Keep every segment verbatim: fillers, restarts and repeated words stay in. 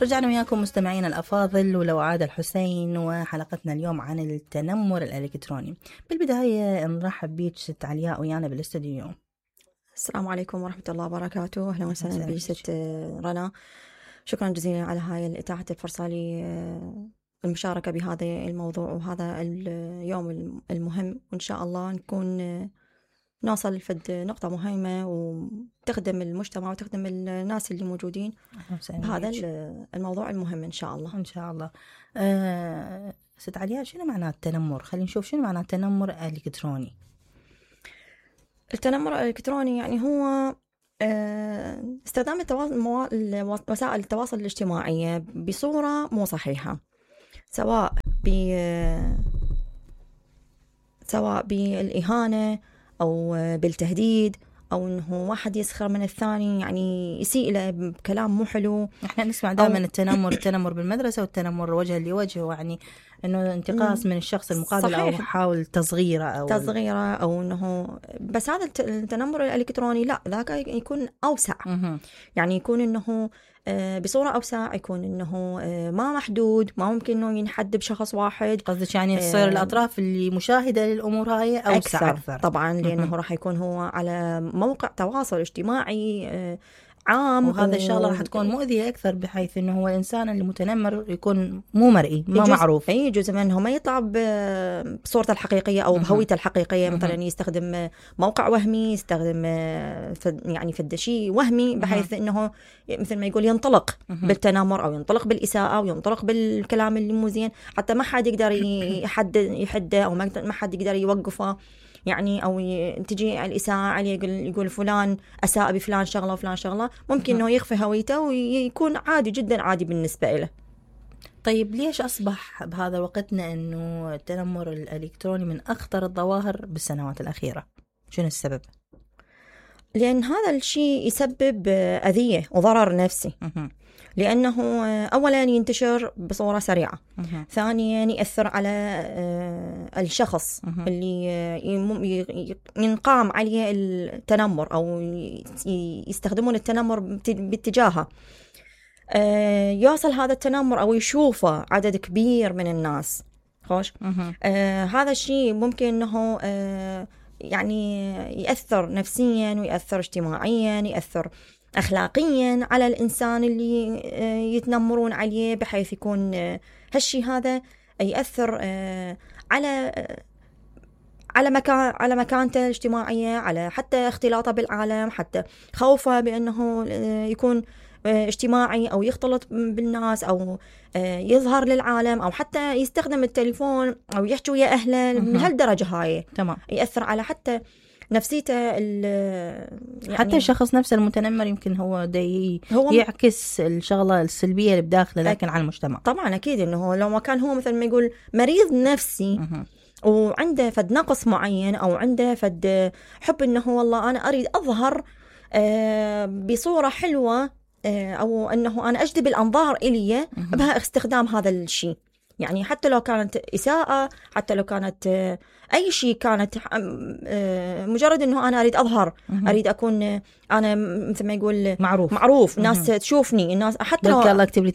رجعنا وياكم مستمعينا الأفاضل، ولو عاد الحسين، وحلقتنا اليوم عن التنمر الإلكتروني. بالبداية نرحب بيك ست علياء ويانا بالاستديو. السلام عليكم ورحمة الله وبركاته. أهلا وسهلا بك ست رنا، شكرا جزيلا على هاي إتاحة الفرصة لي المشاركة بهذا الموضوع وهذا اليوم المهم، وإن شاء الله نكون نوصل لفد نقطة مهمة وتخدم المجتمع وتخدم الناس اللي موجودين بهذا الموضوع المهم إن شاء الله. إن شاء الله. أه ست علياء، شنو معنى التنمر؟ خلينا نشوف شنو معنى التنمر الإلكتروني. التنمر الإلكتروني يعني هو استخدام وسائل التواصل الاجتماعي بصورة مو صحيحة، سواء ب سواء بالإهانة أو بالتهديد، أو إنه واحد يسخر من الثاني، يعني يسيء له بكلام مو حلو. إحنا نسمع دائما التنمر التنمر بالمدرسة والتنمر وجها لوجه، يعني إنه انتقاص من الشخص المقابل صحيح. أو حاول تصغيره أو تصغيره أو إنه بس هذا التنمر الإلكتروني لا، ذاك يكون أوسع. م- يعني يكون إنه بصورة أوسع، يكون إنه ما محدود، ما ممكن إنه ينحد بشخص واحد. قصدك يعني تصير الأطراف اللي مشاهدة للأمور هاي أوسع أكثر, أكثر. طبعا لأنه راح يكون هو على موقع تواصل اجتماعي عام، وهذا و... الشغله راح تكون مؤذيه اكثر، بحيث انه هو الانسان اللي متنمر يكون مو مرئي، ما يجوز... معروف. اي جزء منه ما يطلع بصورته الحقيقيه او بهويته الحقيقيه. مثلا يستخدم موقع وهمي، يستخدم فد... يعني فد شيء وهمي، بحيث انه مثل ما يقول ينطلق بالتنمر او ينطلق بالاساءه او ينطلق بالكلام اللي مو زين، حتى ما حد يقدر يحد يحده او ما حد يقدر يوقفه. يعني أو تجي الإساءة عليه، يقول, يقول فلان أساء بفلان شغلة وفلان شغلة، ممكن أنه يخفي هويته ويكون عادي جدا عادي بالنسبة له. طيب ليش أصبح بهذا وقتنا أنه التنمر الإلكتروني من أخطر الظواهر بالسنوات الأخيرة؟ شنو السبب؟ لأن هذا الشيء يسبب أذية وضرر نفسي. لأنه أولا ينتشر بصورة سريعة، مه. ثانيا يأثر على الشخص مه. اللي ينقام عليه التنمر أو يستخدمون التنمر باتجاهه. يوصل هذا التنمر أو يشوفه عدد كبير من الناس. خوش آه هذا الشيء ممكن أنه آه يعني يأثر نفسيا ويأثر اجتماعيا، يأثر أخلاقيا على الإنسان اللي يتنمرون عليه، بحيث يكون هالشي هذا يأثر على على مكان على مكانته الاجتماعية، على حتى اختلاطه بالعالم، حتى خوفه بأنه يكون اجتماعي أو يختلط بالناس أو يظهر للعالم، أو حتى يستخدم التليفون أو يحكي ويا أهله من هالدرجة هاي. تمام. يأثر على حتى نفسيته يعني حتى الشخص نفسه المتنمر يمكن هو دي هو يعكس الشغلة السلبية اللي بداخله، لكن على المجتمع طبعا أكيد إنه لو ما كان هو مثل ما يقول مريض نفسي مه. وعنده فد نقص معين أو عنده فد حب إنه والله أنا أريد أظهر بصورة حلوة، أو أنه أنا أجذب الأنظار إلي بها استخدام هذا الشيء. يعني حتى لو كانت إساءة، حتى لو كانت أي شيء، كانت مجرد أنه أنا أريد أظهر، أريد أكون أنا مثل ما يقول معروف معروف الناس تشوفني، الناس حتى لو الله أكتب لي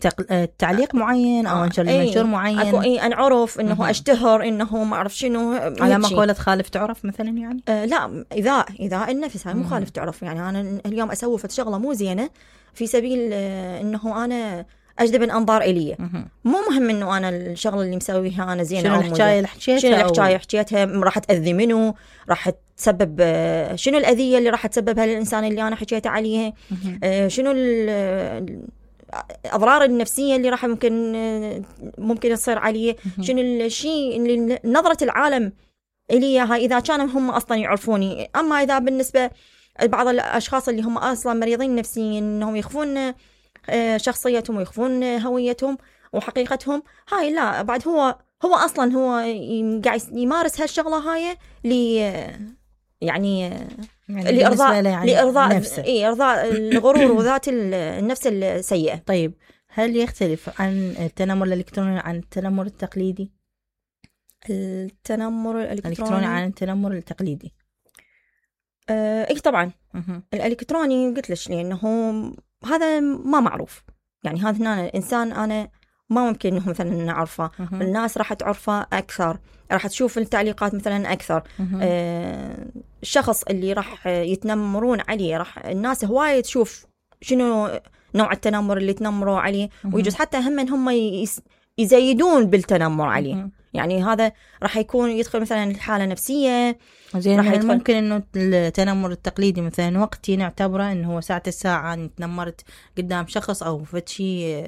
تعليق معين أو أنشر لي منشور معين، أكو إيه أنعرف إنه مه. أشتهر إنه ما أعرف شنو على مقولة خالف تعرف مثلا. يعني آه لا، إذا إذا النفس هاي مو خالف تعرف. يعني أنا اليوم أسوي شغلة مو زينة في سبيل إنه أنا أجذب الأنظار إلي، مو مهم إنه أنا الشغلة اللي مسويها أنا زينة شنو الحكاية اللي حكيتها، شنو الحكاية حكيتها راح تأذي منه، راح تسبب شنو الأذية اللي راح تسببها للإنسان اللي أنا حكيت عليه، شنو الأضرار النفسية اللي راح ممكن ممكن تصير عليه، شنو الشيء اللي نظرة العالم إلي هاي إذا كانوا هم أصلا يعرفوني. أما إذا بالنسبة بعض الأشخاص اللي هم أصلا مريضين نفسيا إنهم يخفون شخصيتهم ويخفون هويتهم وحقيقتهم، هاي لا، بعد هو هو أصلا هو قاعد يمارس هالشغلة هاي لي يعني, يعني لإرضاء يعني لإرضاء نفسه، إيه إرضاء الغرور وذات النفس السيئة. طيب هل يختلف عن التنمر الإلكتروني عن التنمر التقليدي؟ التنمر الإلكتروني عن التنمر التقليدي آه إيه طبعا. الإلكتروني قلت لك لأنه هذا ما معروف، يعني هذا هنا الإنسان أنا ما ممكن إنه مثلا نعرفه، الناس راح تعرفه أكثر، راح تشوف التعليقات مثلا أكثر. آه الشخص اللي راح يتنمرون عليه راح الناس هواية تشوف شنو نوع التنمر اللي تنمروا عليه، ويجوز حتى هم من هم يزيدون بالتنمر عليه. يعني هذا راح يكون يدخل مثلا الحالة نفسية. زين يعني ممكن انه التنمر التقليدي مثلا وقتي نعتبره انه هو ساعة الساعة تنمرت قدام شخص او فتشي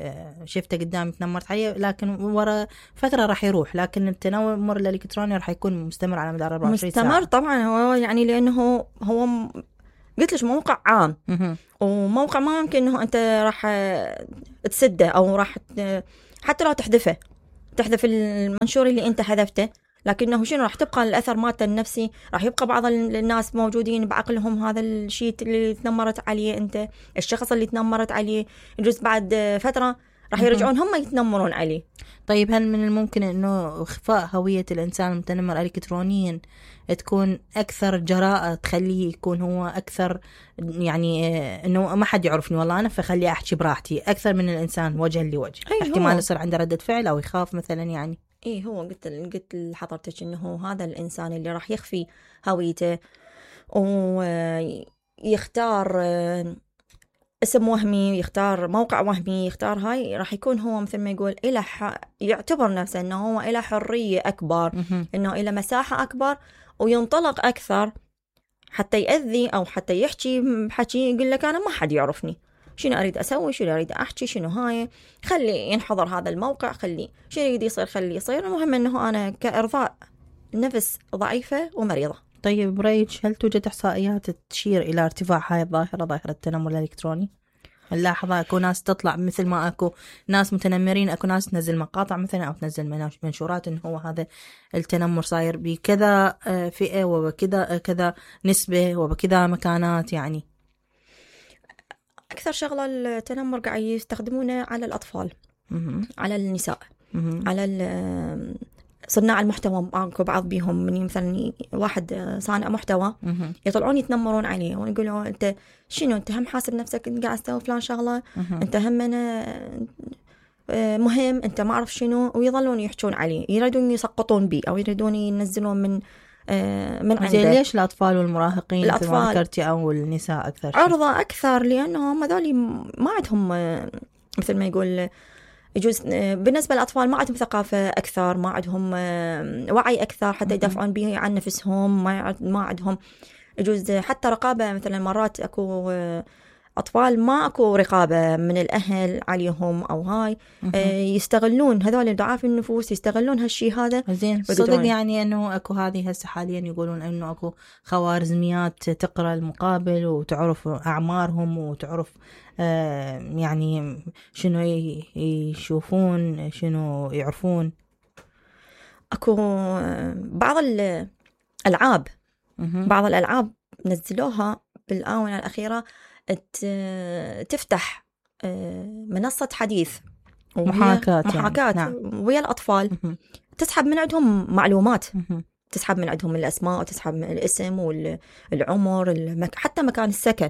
شفته قدام تنمرت عليه، لكن ورا فترة راح يروح. لكن التنمر الالكتروني راح يكون مستمر على مدار أربعة وعشرين ساعة. مستمر طبعا، هو يعني لانه هو قلت لك موقع عام، وموقع ما ممكن انه انت راح تسده او راح حتى لو تحذفه تحذف المنشور اللي انت حذفته، لكنه شنو راح تبقى الاثر مالته النفسي. راح يبقى بعض الناس موجودين بعقلهم هذا الشيء اللي تنمرت عليه انت، الشخص اللي تنمرت عليه يجوز بعد فتره راح يرجعون هم يتنمرون عليه. طيب هل من الممكن انه اخفاء هوية الانسان المتنمر الكترونيا تكون اكثر جراءة، تخليه يكون هو اكثر يعني انه ما حد يعرفني والله انا، فخليه احكي براحتي اكثر من الانسان وجها لوجه؟ احتمال يصير عنده ردة فعل او يخاف مثلا. يعني ايه هو قلت قلت لحضرتك انه هذا الانسان اللي راح يخفي هويته ويختار اسم وهمي، يختار موقع وهمي، يختار هاي، راح يكون هو مثل ما يقول إله ح... يعتبر نفسه انه هو إله حرية اكبر، انه إله مساحة اكبر، وينطلق اكثر حتى يأذي او حتى يحكي حكي يقول لك انا ما حد يعرفني، شنو اريد اسوي، شنو اريد احكي، شنو هاي، خلي ينحضر هذا الموقع، خلي شنو يريد يصير خلي يصير، المهم انه انا كارضاء نفس ضعيفة ومريضة. طيب برأيك هل توجد احصائيات تشير الى ارتفاع هاي الظاهرة، ظاهرة التنمر الالكتروني؟ نلاحظها اكو ناس تطلع مثل ما اكو ناس متنمرين، اكو ناس تنزل مقاطع مثلا او تنزل منشورات انه هو هذا التنمر صاير بكذا فئة وبكذا كذا نسبة وبكذا مكانات. يعني اكثر شغلة التنمر قاعد يستخدمونه على الاطفال، على النساء، على صناع المحتوى. اكو بعض بيهم من مثلا واحد صانع محتوى يطلعون يتنمرون عليه ويقولوا انت شنو، انت هم حاسب نفسك انت قاعد تسوي فلان شغله، انت هم مهم، انت ما اعرف شنو، ويظلون يحجون عليه، يريدون يسقطون بيه او يريدون ينزلون من من عنده. زين ليش الاطفال والمراهقين مثل ما ذكرتي او النساء اكثر شيء عرضه اكثر؟ لانهم هذول ما عندهم مثل ما يقول يجوز بالنسبة للأطفال ما عندهم ثقافة أكثر، ما عندهم وعي أكثر حتى يدافعون به عن نفسهم، ما ما عندهم يجوز حتى رقابة. مثلا مرات أكو أطفال ما أكو رقابة من الأهل عليهم أو هاي، يستغلون هذول ضعاف النفوس، يستغلون هالشي هذا. زين صدق يعني أنه أكو هذه هسه حاليا يقولون أنه أكو خوارزميات تقرأ المقابل وتعرف أعمارهم وتعرف آه يعني شنو يشوفون شنو يعرفون. أكو بعض الألعاب بعض الألعاب نزلوها بالآونة الأخيرة تفتح منصة حديث محاكاة محاكاة يعني. نعم. ويا الأطفال تسحب من عندهم معلومات، تسحب من عندهم الأسماء وتسحب من الاسم والعمر المك... حتى مكان السكن.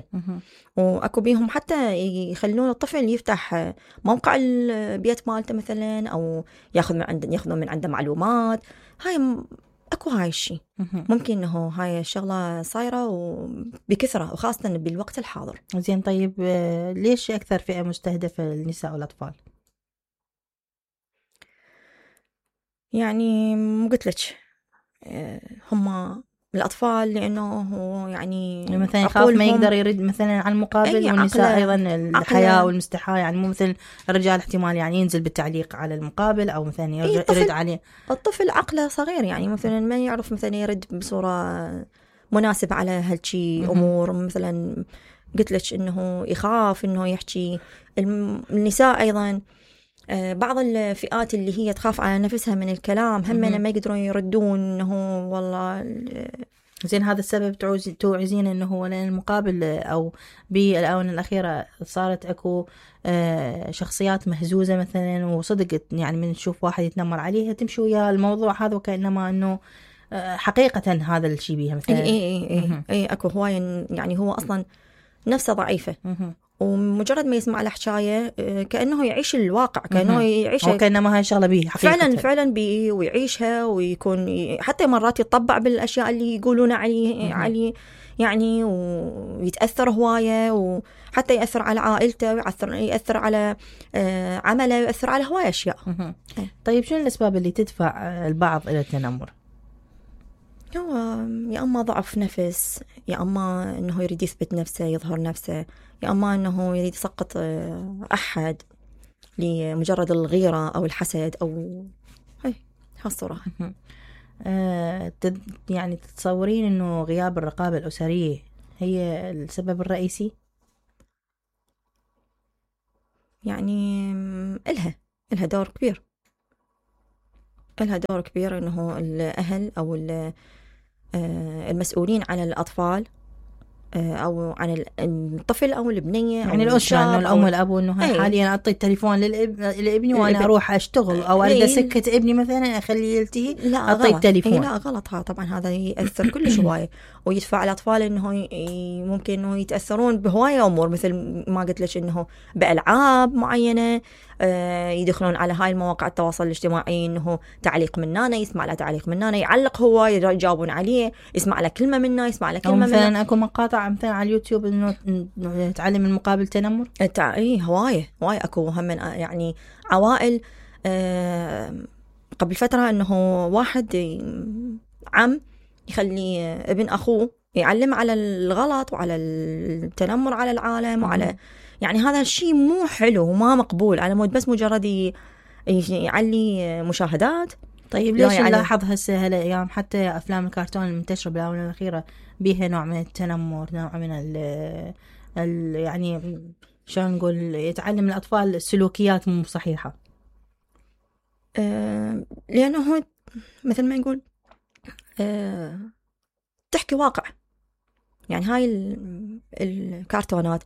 وأكو بيهم حتى يخلون الطفل يفتح موقع البيت مالته مثلا، أو ياخذ من عنده ياخذون من عنده معلومات. هاي م... أكو هاي الشيء ممكن إنه هاي الشغلة صايرة وبكثرة وخاصة بالوقت الحاضر. زين طيب ليش أكثر فئة مستهدفة النساء والأطفال؟ يعني قلت لك هم الأطفال لأنه هو يعني مثلا يخاف ما يقدر يرد مثلا على المقابل، والنساء أيضا الحياة والمستحاة، يعني مو مثل الرجال احتمال يعني ينزل بالتعليق على المقابل أو مثلا يرد, يرد عليه. الطفل عقله صغير يعني مثلا ما يعرف مثلا يرد بصورة مناسبة على هالشي أمور. مثلا قلت لك إنه يخاف إنه يحكي. النساء أيضا بعض الفئات اللي هي تخاف على نفسها من الكلام هم ما يقدرون يردون إنه والله. زين هذا السبب تعوز توعزين إنه هو لأن المقابل أو بالآونة الأخيرة صارت أكو شخصيات مهزوزة مثلا، وصدقت يعني من تشوف واحد يتنمر عليها تمشي ويا الموضوع هذا وكأنما إنه حقيقة هذا الشيء بيها مثلا. إيه إيه إيه إيه أكو هواي يعني هو أصلا نفسه ضعيفة ومجرد ما يسمع الحكاية كأنه يعيش الواقع، كأنه يعيش وكأنما هاي شغلة بيه حقيقة. فعلا فعلا بيه ويعيشها، ويكون حتى مرات يتطبع بالأشياء اللي يقولون عليه عليه يعني، ويتأثر هواية، وحتى يأثر على عائلته، ويأثر يأثر على عمله، ويأثر على هواية أشياء. طيب شو الأسباب اللي تدفع البعض إلى التنمر؟ هو يا أما ضعف نفس، يا أما أنه يريد يثبت نفسه يظهر نفسه، يا أما أنه يريد يسقط أحد لمجرد الغيرة أو الحسد أو هاي هالصورة. آه يعني تتصورين أنه غياب الرقابة الأسرية هي السبب الرئيسي؟ يعني إلها إلها دور كبير، إلها دور كبير أنه الأهل أو المسؤولين عن الأطفال أو عن الطفل أو البنية، يعني الأسرة، إنه الأم والأب، إنه أي. حاليا أعطي التليفون للأب لابني وأنا الإب... أروح أشتغل أو أريد أسكت ابني مثلا أخليه يلتهي، أعطي التليفون. لا غلط، ها طبعا هذا يأثر كل هواية، ويدفع الأطفال إنه ي... ممكن إنه يتأثرون بهواية أمور، مثل ما قلت لك إنه بألعاب معينة، آه يدخلون على هاي المواقع التواصل الاجتماعي، إنه تعليق مننا، يسمع له تعليق مننا، يعلق هو، يجاوبون عليه، يسمع له كلمة منا، يسمع له كلمة مثلا منا. أكو مقاطع مثلا على اليوتيوب إنه تعلم المقابل تنمر. تع... إيه هواية هواية أكو هم من يعني عوائل. آه قبل فترة إنه واحد عم يخلي ابن أخوه يعلم على الغلط وعلى التنمر على العالم وعلى، يعني هذا الشيء مو حلو وما مقبول، على مود بس مجرد يعلي مشاهدات. طيب ليش نلاحظ هسه هالايام حتى افلام الكرتون المنتشره بالاونه الاخيره بيها نوع من التنمر، نوع من ال ال يعني شلون نقول، يتعلم الاطفال سلوكيات مو صحيحه؟ أه لانه هو مثل ما نقول أه تحكي واقع، يعني هاي الكرتونات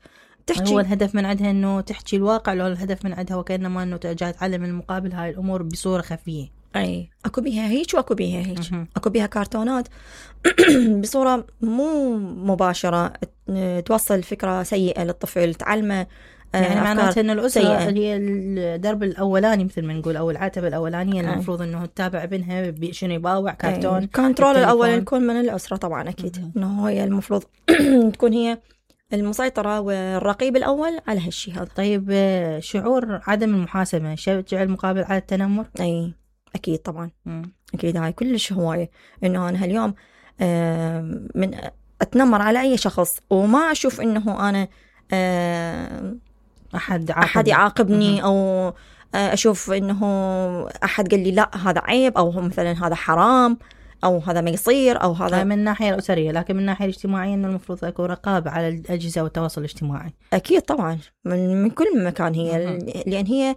تحكي، هو الهدف من عندها انه تحكي الواقع، لو الهدف من عندها وكانما انه جاي تعلم المقابل هاي الامور بصوره خفيه. اي اكو بيها هيك واكو بيها هيك، اكو بيها كرتونات بصوره مو مباشره توصل فكره سيئه للطفل، تعلمه يعني معناته ان الاسره هي الدرب الاولاني مثل ما نقول، او العتبه الاولانيه اللي المفروض انه تتابع ابنها شنو يباوع كرتون. الكنترول الاول يكون من الاسره طبعا اكيد، انه هي المفروض تكون هي المسيطرة والرقيب الأول على هالشي هذا. طيب شعور عدم المحاسبة يشجع المقابل على التنمر؟ أي أكيد طبعا. مم. أكيد هاي كلش هواية، إنه أنا هاليوم من أتنمر على أي شخص وما أشوف إنه أنا أحد أحد يعاقبني، أو أشوف إنه أحد قال لي لا هذا عيب، أو مثلا هذا حرام، أو هذا ما يصير، أو هذا من الناحية الأسرية. لكن من الناحية الاجتماعية إنه المفروض يكون رقابة على الأجهزة والتواصل الاجتماعي. أكيد طبعا من, من كل مكان هي، لأن هي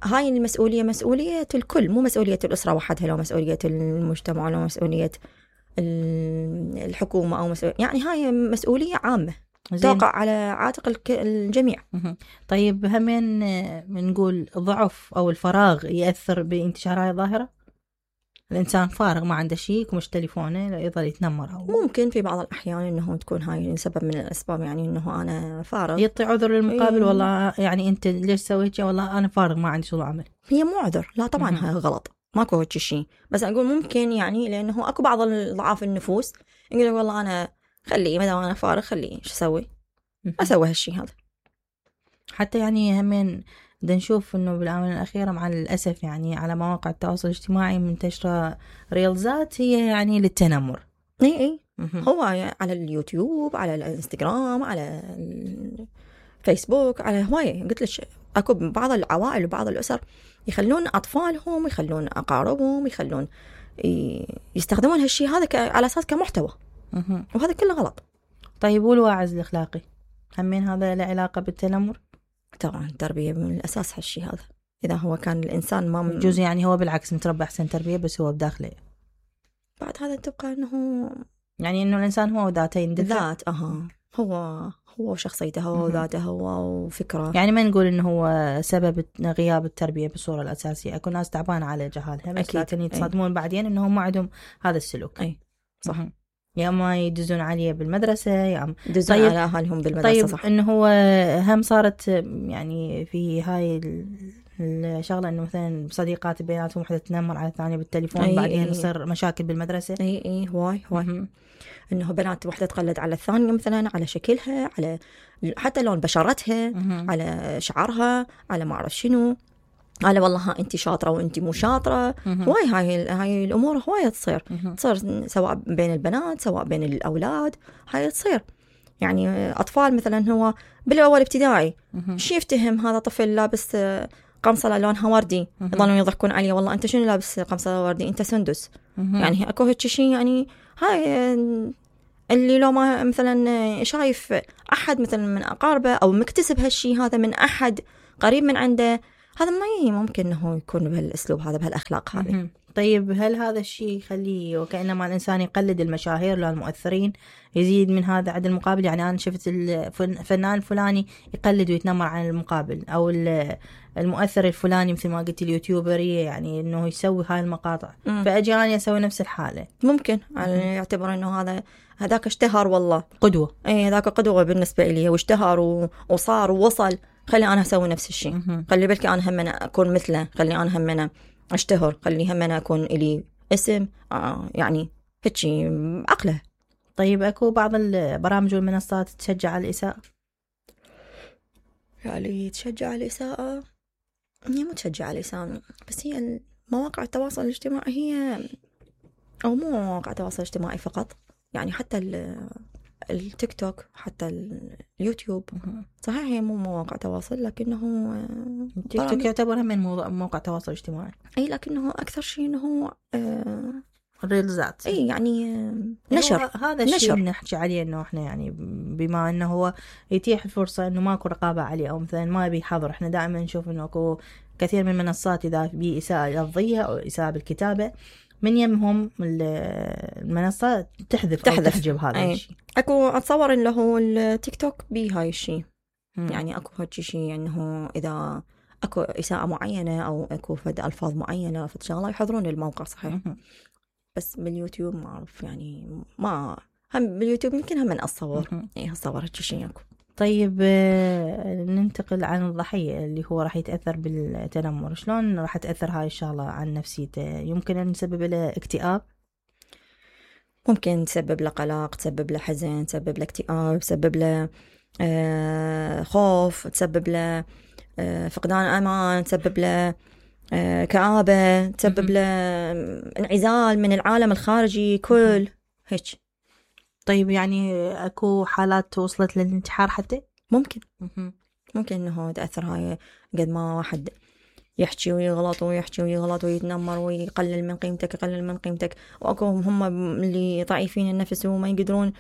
هاي المسؤولية مسؤولية الكل، مو مسؤولية الأسرة وحدها، لو مسؤولية المجتمع، لو مسؤولية الحكومة، أو مسؤولية، يعني هاي مسؤولية عامة توقع على عاتق الجميع. طيب همين بنقول ضعف أو الفراغ يأثر بانتشار هاي الظاهرة؟ الإنسان فارغ ما عنده شيء ومش تليفونه يظل يتنمر، أو ممكن في بعض الأحيان إنه تكون هاي سبب من الأسباب، يعني إنه أنا فارغ يعطي عذر للمقابل. إيه. والله يعني أنت ليش سويت شيء؟ والله أنا فارغ ما عندي شغل عمل. هي مو عذر، لا طبعا هاي غلط، ماكو هيك شيء، بس أقول ممكن يعني لأنه أكو بعض الضعاف النفوس يقول لك والله أنا خليه ما دام أنا فارغ خليه إيش أسوي، أسوي هالشيء هذا. حتى يعني همين بدنا نشوف إنه بالآونة الأخيرة مع الأسف يعني على مواقع التواصل الاجتماعي منتشرة ريلزات هي يعني للتنمر. إيه إيه هو على اليوتيوب، على الانستغرام، على الفيسبوك، على هواية. قلت لك أكو بعض العوائل وبعض الأسر يخلون أطفالهم، يخلون أقاربهم، يخلون يستخدمون هالشيء هذا على أساس كمحتوى، وهذا كله غلط. طيب والواعظ الأخلاقي همين هذا له علاقة بالتنمر؟ طبعا التربية من الأساس هالشيء هذا، إذا هو كان الإنسان ما من... جزء يعني هو بالعكس متربى أحسن تربية، بس هو بداخله بعد هذا تبقى إنه يعني إنه الإنسان هو ذاته يندفع ذات أها هو هو شخصيته، هو ذاته، هو وفكره. يعني ما نقول إنه هو سبب غياب التربية بالصورة الأساسية، أكو ناس تعبانة على جهالها، بس لكن يتصدمون بعدين إنهم ما عندهم هذا السلوك. أي صح. مه. يا اما يدزون عليه بالمدرسه يا اما يدزون طيب على اهلهم بالمدرسه. طيب صح. انه هو هم صارت يعني في هاي الشغله انه مثلا صديقات بيناتهم وحده تنمر على الثانيه بالتليفون أي بعدين أي يصير مشاكل بالمدرسه. اي اي هواي هواي انه بنات وحده تقلد على الثانيه مثلا على شكلها، على حتى لون بشرتها، على شعرها، على ما اعرف شنو، على والله ها انت شاطره وانت مو شاطره. هواي هاي هاي الامور هواي تصير تصير سواء بين البنات سواء بين الاولاد. هاي تصير يعني اطفال مثلا هو بالاول ابتدائي شي يفتهم هذا طفل لابس قمصه لونها وردي يظلون يضحكون عليه والله انت شنو لابس قمصه وردي انت سندس. يعني اكو هيك شيء يعني هاي اللي لو ما مثلا شايف احد مثلا من اقاربه او مكتسب هالشيء هذا من احد قريب من عنده هذا ما ممكن انه يكون بهالاسلوب هذا بهالاخلاق هذه. طيب هل هذا الشيء يخليه وكأنما الإنسان يقلد المشاهير لو المؤثرين يزيد من هذا عند المقابل؟ يعني أنا شفت الفنان الفلاني يقلد ويتنمر عن المقابل أو المؤثر الفلاني مثل ما قلت اليوتيوبرية يعني إنه يسوي هاي المقاطع م. فأجي أنا أسوي نفس الحالة. ممكن يعني يعتبر إنه هذا هذاك اشتهر والله قدوة. إيه هذاك قدوة بالنسبة لي واشتهر وصار ووصل خلي أنا أسوي نفس الشيء. خلي بالك أنا هم أنا أكون مثله، خلي أنا هم أنا أشتهر، خلي هم أنا أكون إلي اسم آه يعني هيك عقله. طيب أكو بعض البرامج والمنصات تشجع على الإساءة؟ يعني تشجع على الإساءة هي مو تشجع على الإساءة بس هي مواقع التواصل الاجتماعي هي أو مو مواقع التواصل الاجتماعي فقط يعني حتى التيك توك حتى اليوتيوب صحيح هي مو مواقع تواصل لكنه التيك توك يعتبر من موقع تواصل اجتماعي اي لكنه اكثر شيء انه آه الريلزات اي يعني نشر. هذا الشيء نحكي عليه انه احنا يعني بما انه هو يتيح الفرصه انه ماكو رقابه عليه او مثلا ما بيحضر. احنا دائما نشوف انه اكو كثير من المنصات اذا بي اساءه لفظيه او اساءه بالكتابه من يمهم المنصة تحذف أو تحجب هذا الشيء. أكو أتصور إنه هو التيك توك بي هاي الشيء يعني أكو هاي الشيء إنه إذا أكو إساءة معينة أو أكو فد ألفاظ معينة فد شغلة يحضرون الموقع صحيح. بس باليوتيوب ما أعرف يعني ما هم باليوتيوب يمكن هم من أتصور إيه أتصور هاي الشيء أكو. طيب ننتقل عن الضحية اللي هو راح يتأثر بالتنمر. شلون راح تأثر هاي الشغلة عن نفسيته؟ يمكن أن تسبب له اكتئاب، ممكن تسبب له قلق، تسبب له حزن، تسبب له اكتئاب، تسبب له آه خوف، تسبب له آه فقدان أمان، تسبب له آه كآبة، تسبب له انعزال من العالم الخارجي كل هيك. طيب يعني أكو حالات وصلت للانتحار حتى؟ ممكن ممكن إنه تأثر هاي قد ما واحد يحكي ويغلط ويحكي ويغلط ويتنمر ويقلل من قيمتك يقلل من قيمتك وأكو هم اللي ضعيفين النفس وما يقدرون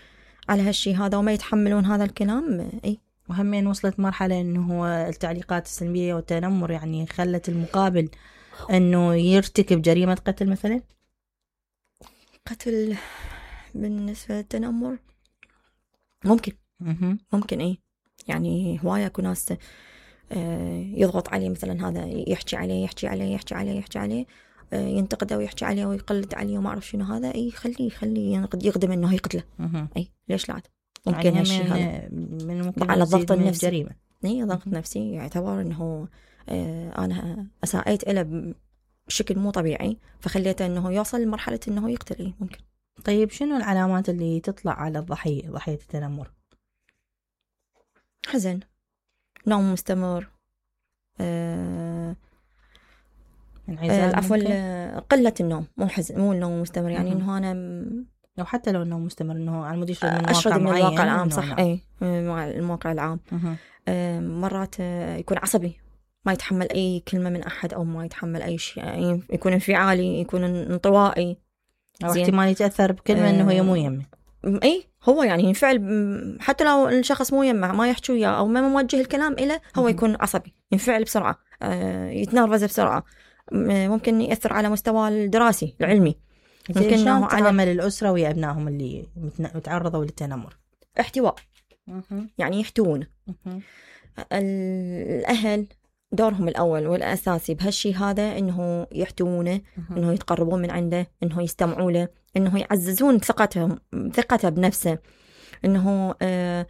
على هالشي هذا وما يتحملون هذا الكلام. أي وهمين وصلت مرحلة إنه هو التعليقات السلبية والتنمر يعني خلت المقابل إنه يرتكب جريمة قتل مثلا. قتل بالنسبة للتنمر ممكن ممكن إيه يعني هواية أكو ناس يضغط عليه مثلا هذا يحكي عليه يحكي عليه يحكي عليه يحكي عليه ينتقده ويحكي عليه ويقلد عليه وما أعرف شنو هذا أي خليه يخليه ينقد يقدم إنه يقتله. أي ليش لا ممكن يعني هالشيء هذا من على الضغط النفسي جريمة. إيه ضغط نفسي يعتبر إنه أنا أساءيت إله بشكل مو طبيعي فخليته إنه يوصل لمرحلة إنه يقتل. إيه ممكن. طيب شنو العلامات اللي تطلع على الضحية ضحية التنمر؟ حزن، نوم مستمر، آه عفوا آه قلة النوم مو حزن مو النوم مستمر يعني إنه أنا م... لو حتى لو النوم مستمر إنه على مود يشرد من أشرد من الواقع العام صح. نعم. أي المواقع العام آه مرات آه يكون عصبي ما يتحمل أي كلمة من أحد أو ما يتحمل أي شيء يعني يكون انفعالي يكون انطوائي أو احتمال يتأثر بكلمة آه إنه هي مو يمه. اي هو يعني ينفعل حتى لو الشخص مو يمه ما يحكي وياه او ما موجه الكلام إله هو يكون عصبي ينفعل بسرعه آه يتنرفز بسرعه ممكن يأثر على مستوى الدراسي العلمي. ممكن انه على عمل الاسره ويا ابنائهم اللي متعرضوا للتنمر. احتواء يعني يحتوون الاهل دورهم الأول والأساسي بهالشي هذا إنه يحتوونه إنه يتقربون من عنده إنه يستمعوا له إنه يعززون ثقتهم ثقته بنفسه، إنه آه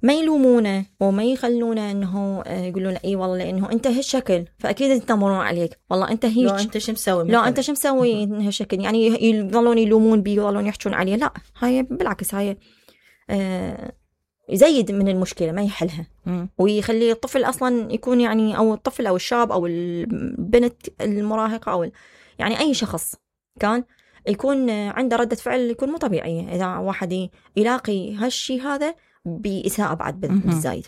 ما يلومونه وما يخلونه إنه آه يقولون إيه والله لأنه أنت هالشكل فأكيد يتنمرون عليك، والله أنت هيك، لو أنت شو مسوي، لا أنت شو مسوي هالشكل، يعني يظلون يلومون بي يظلون يحجون عليه. لا، هاي بالعكس هاي آه يزيد من المشكلة ما يحلها. م. ويخلي الطفل أصلا يكون يعني أو الطفل أو الشاب أو البنت المراهقة أو يعني أي شخص كان يكون عنده ردة فعل يكون مو طبيعية إذا واحد يلاقي هالشي هذا بإساءة بعد بالزايد.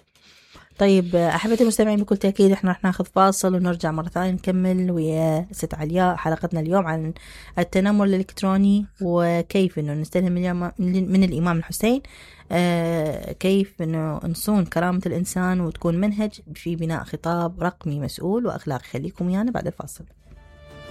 طيب أحبتي المستمعين بكل تأكيد إحنا رح ناخذ فاصل ونرجع مرة ثانية نكمل ويا ست علياء حلقتنا اليوم عن التنمر الإلكتروني وكيف إنه نستلهم من الإمام الحسين آه كيف إنه نصون كرامة الإنسان وتكون منهج في بناء خطاب رقمي مسؤول وأخلاقي. خليكم ويانا بعد الفاصل.